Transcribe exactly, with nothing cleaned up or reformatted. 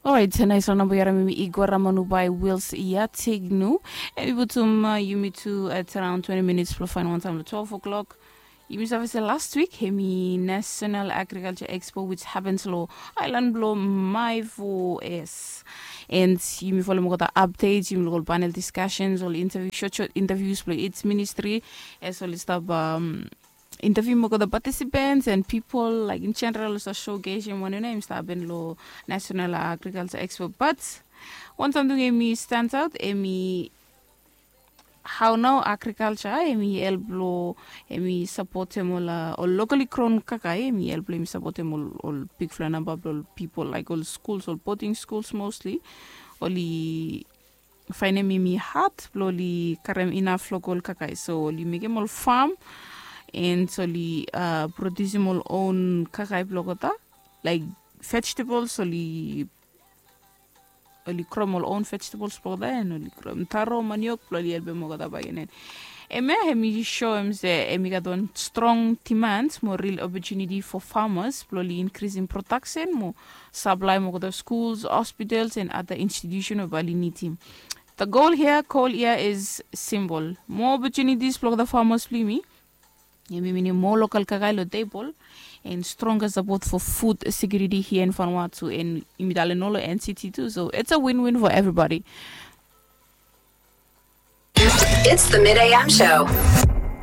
Orait, nais wan namba yara mimi Igor Ramanubai Wills ia Tignu. Em i putum uh, yumi tu at around twenty minutes blo fain wan taim lo twelve o'clock. Yumi save se last week em i National Agriculture Expo which happens lo island blo Maivo es. And yumi follow mokota updates, yumi lo ol panel discussions, ol interview, short short interviews blo its ministry. As ol i stap um, interview mokota participants and people like in general sa showcase em wan ena im stap happen lo National Agriculture Expo. But wan samting em i stands out em i how now agriculture em i help lo em i supportem ol uh, ol locally grown kakai em i help lo em i supportem ol ol bigfala namba blo ol people like ol schools, ol boarding schools mostly. Ol i fainem em i hard blo ol i karem inaf local kakai, so ol i mekem ol farm and ol i uh, produsim ol own kakai blokota like vegetables, ol i ol i krom ol own vegetables blokota and ol i krom taro, maniok blo ol i helpem olgeta bakegen. Em ya em i show em se em i gat wan strong demand mo real opportunity for farmers blo ol i increasing production mo supply mo olgeta schools, hospitals and other institution we bali nidim. The goal here, goal here is simple. More opportunities blokota farmers blo yumi. Yumi minim more local kakai lo table and stronger support for food security here in Vanuatu and yumi dale nolo N C T too. So it's a win-win for everybody. It's the Mid A M show.